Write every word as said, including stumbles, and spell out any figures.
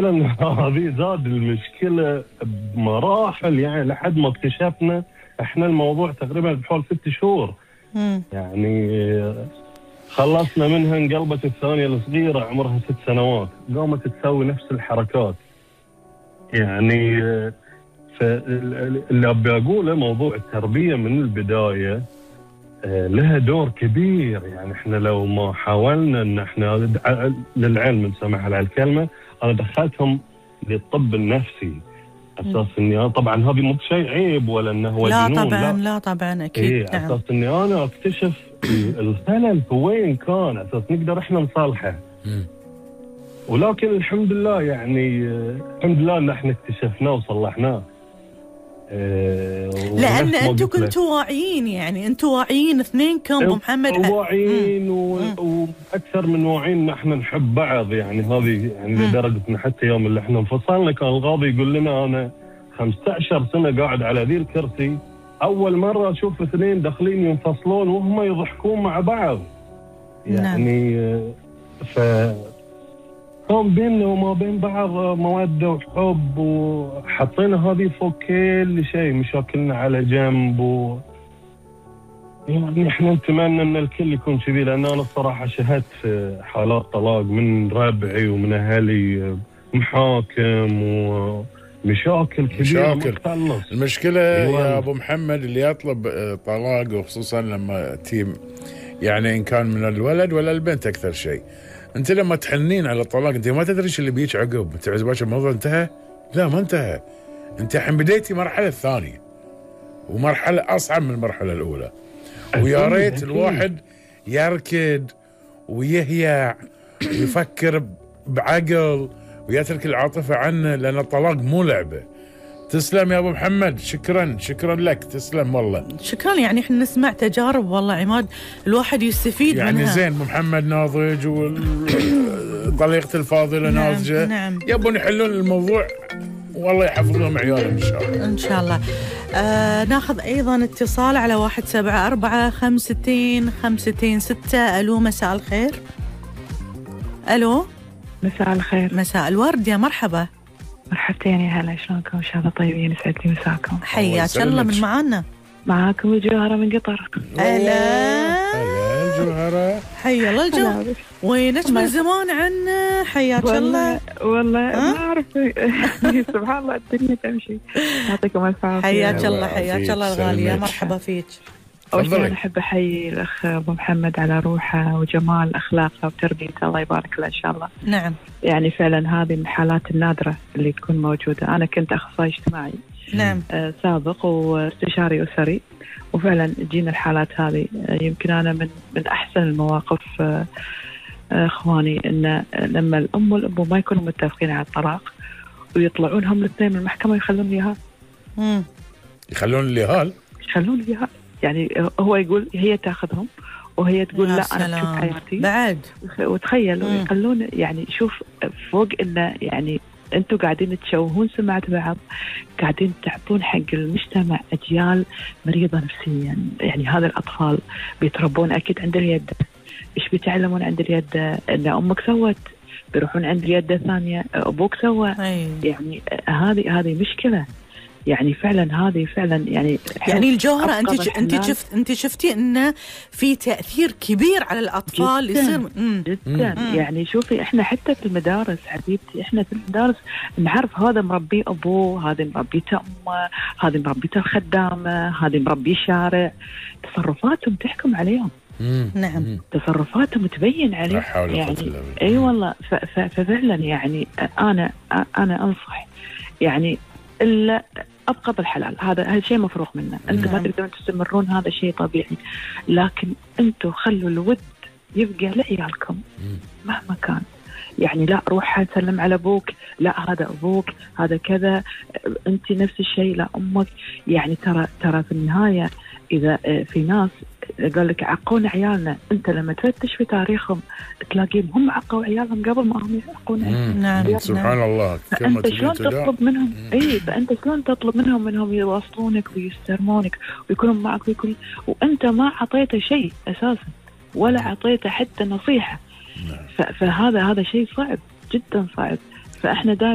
إن هذه زاد المشكلة بمراحل، يعني لحد ما اكتشفنا احنا الموضوع تقريبا بحول ست شهور. مم. يعني خلصنا منها، انقلبت الثانية الصغيرة عمرها ست سنوات قامت تسوي نفس الحركات. يعني فاللي أبي أقوله موضوع التربية من البداية لها دور كبير. يعني احنا لو ما حاولنا ان احنا للعلم نسمح على الكلمة، انا دخلتهم للطب النفسي اساس اني طبعا هذه مو بشيء عيب ولا انه هو لا جنون. طبعا لا, لا طبعا اكيد. إيه نعم. اساس اني انا اكتشف الخلل في وين كان، اساس نقدر احنا نصلحه. ولكن الحمد لله يعني الحمد لله ان احنا اكتشفناه وصلحناه. أه لان انتم كنتوا واعيين، يعني انتم واعيين اثنينكم ابو محمد، واعيين واكثر من واعيين ان احنا نحب بعض. يعني هذه يعني لدرجه ان حتى يوم اللي احنا انفصلنا كان القاضي يقول لنا انا خمسة عشر سنه قاعد على ذي الكرسي، اول مره اشوف اثنين داخلين ينفصلون وهم يضحكون مع بعض. يعني نعم. ف كان بيننا وما بين بعض مودة وحب، وحطينا هذه فوق كل شيء، مشاكلنا على جنب. و... يعني احنا نتمنى ان الكل يكون كذي، لان انا الصراحة شهدت في حالات طلاق من ربعي ومن اهلي، محاكم ومشاكل كبيرة. مشاكل. المشكلة يا ابو محمد اللي يطلب طلاق، وخصوصا لما تيم يعني ان كان من الولد ولا البنت اكثر شيء، انت لما تحنين على الطلاق انت ما تدري ايش اللي بيجيك عقب. انت عزباش الموضوع انتهى؟ لا ما انتهى، انت الحين بديتي مرحله ثانيه ومرحله اصعب من المرحله الاولى. ويا ريت الواحد يركض ويهيع ويفكر بعقل ويترك العاطفه عنه، لان الطلاق مو لعبه. تسلم يا ابو محمد، شكرا شكرا لك، تسلم والله. شكرا. يعني احنا نسمع تجارب والله عماد الواحد يستفيد يعني منها. زين ابو محمد ناضج وطليقته الفاضله نعم ناضجه. نعم. يبون يحلون الموضوع والله يحفظ لهم عيالهم ان شاء الله. ان شاء الله. آه ناخذ ايضا اتصال على واحد سبعة أربعة خمستين خمستين ستة. الو مساء الخير. الو مساء الخير. مساء الورد، يا مرحبا. مرحبتين يا هلا، شلونكم؟ ان شاء الله طيبين، يسعد لي مساكم. حياك الله. من معانا؟ معاكم الجوهرة من قطر. هلا هلا الجوهرة، حيا الله الجو. وينك من زمان عنا؟ حياك الله. والله ما اعرف سبحان الله الدنيا تمشي. يعطيكم الف عافية. حياك الله حياك الله الغالية، مرحبا فيك. أول شيء أنا أحب أحيي الأخ أبو محمد على روحه وجمال أخلاقه وتربيته، الله يبارك له إن شاء الله. نعم. يعني فعلا هذه من الحالات النادرة اللي تكون موجودة. أنا كنت أخصائي اجتماعي نعم آه سابق واستشاري أسري، وفعلا جينا الحالات هذه. آه يمكن أنا من من أحسن المواقف آه آه إخواني إن لما الأم والأبو ما يكونوا متفقين على الطلاق ويطلعون هم الاثنين من المحكمة يخلون ليها امم يخلون ليها يخلون ليها يعني هو يقول هي تاخذهم وهي تقول لا سلام. أنا بحب حياتي بعد. وتخيل يخلون يعني شوف فوق إنه يعني أنتوا قاعدين تشوهون سمعة بعض، قاعدين تعطون حق المجتمع أجيال مريضة نفسيا. يعني هذا الأطفال بيتربون أكيد عند اليد، إيش بيتعلمون عند اليد؟ إن أمك سوت، بيروحون عند اليد ثانية أبوك سوى. يعني هذه هذه مشكلة. يعني فعلا هذه فعلا يعني يعني الجوهرة انت انت شفت انت شفتي انه في تأثير كبير على الاطفال جداً يصير مم. جدا مم. يعني شوفي احنا حتى في المدارس حبيبتي، احنا في المدارس نعرف هذا مربي ابوه، هذه مربيته امه، هذه مربيته الخدامه، هذه مربي الشارع. تصرفاتهم تحكم عليهم. مم. نعم. تصرفاتهم تبين عليه. يعني اي أيوة والله. ففعلا يعني انا انا انصح يعني الا ابقى بالحلال، هذا هذا شيء مفروغ منه. انتم ما تقدرون تستمرون، هذا شيء طبيعي، لكن انتم خلوا الود يبقى لعيالكم مهما كان. يعني لا روح سلم على ابوك، لا هذا ابوك، هذا كذا، انت نفس الشيء، لا امك. يعني ترى ترى في النهايه اذا في ناس قال لك عقونا عيالنا، انت لما تفتش في تاريخهم تلاقيهم هم عقوا عيالهم قبل ما هم يعقون عيالهم. نعم. سبحان الله. فانت شلون تطلب منهم اي فانت شلون تطلب منهم منهم يوصلونك ويسترمونك ويكونوا معك ويكون وانت ما عطيته شيء اساسا ولا عطيته حتى نصيحه. فهذا هذا شيء صعب جدا صعب. فاحنا دائما